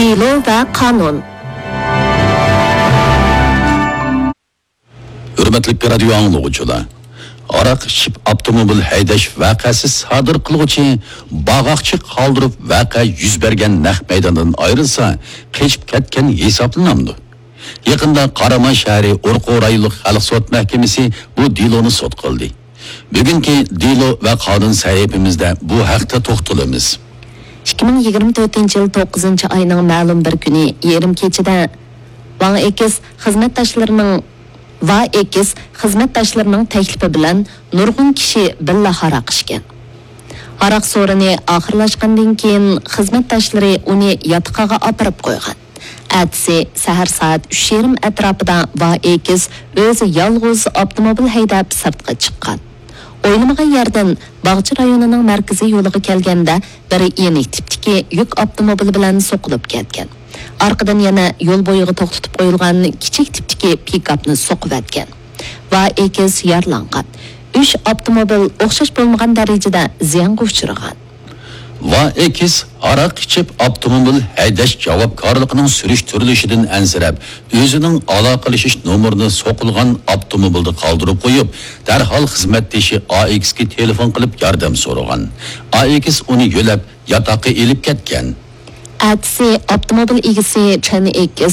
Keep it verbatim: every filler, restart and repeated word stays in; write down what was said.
دېلو ۋە قانۇن. ھۆرمەتلىك رادىيو ئاڭلىغۇچىلار، ھاراق ئىچىپ ئاپتوموبىل ھەيدەش ۋەقەسى سادىر قىلغۇچى باغاقچى قالدۇرۇپ ۋەقە يۈز بەرگەن نەق مەيداندىن ئايرىلسا، قېچىپ كەتكەن ھېسابلىنامدۇ؟ يېقىندا قاراماي شەھىرى ئورقۇ رايونلۇق خەلق سوت مەھكىمىسى بۇ دېلونى سوت قىلدى. بۈگۈنكى دېلو ۋە قانۇن سەھىپىمىزدە بۇ ھەقتە توختىلىمىز. ئىككى مىڭ يىگىرمە تۆتىنچى يىل توققۇزىنچى ئاينىڭ مەلۇم بىر كۈنى يېرىم كېچىدە ۋاڭ ئېكس خىزمەتداشلىرىنىڭ، ۋا ئېكس خىزمەتداشلىرىنىڭ تەكلىپى بىلەن نۇرغۇن كىشى بىللە ھاراق ئىچكەن. ھاراق سورۇنى ئاخىرلاشقاندىن كېيىن خىزمەتداشلىرى ئۇنى ياتىقىغا ئاپىرىپ قويغان. ئەتىسى سەھەر سائەت ئۈچ يېرىم ئەتراپىدا ۋا ئېكس ئۆزى يالغۇز ئاپتوموبىل ھەيدەپ سىرتقا چىققان. ئويلىمىغان يەردىن باغچە رايونىنىڭ مەركىزىي يولىغا كەلگەندە بىر يېنىك تىپتىكى يۈك ئاپتوموبىلى بىلەن سوقۇلۇپ كەتكەن. ئارقىدىن يەنە يول بويىغا توختىتىپ قويۇلغان كىچىك تىپتىكى پىكاپنى سوقۇۋەتكەن. ۋا ئېكس يارىلانغان. ئۈچ ئاپتوموبىل ئوخشاش بولمىغان دەرىجىدە زىيانغا ئۇچرىغان. ۋا ئېكس ھاراق ئىچىپ ئاپتوموبىل ھەيدەش جاۋابكارلىقىنىڭ سۈرۈشتۈرۈلۈشىدىن ئەنسىرەپ، ئۆزىنىڭ ئالاقىلىشىش نومۇرىنى سوقۇلغان ئاپتوموبىلدا قالدۇرۇپ قويۇپ، دەرھال خىزمەتدىشى ئا ئېكسكە تېلېفون قىلىپ ياردەم سورىغان. ئا ئېكس ئۇنى يۆلەپ، ياتاققا ئېلىپ كەتكەن. ئەتىسى ئاپتوموبىل ئىگىسى چەن ئېكس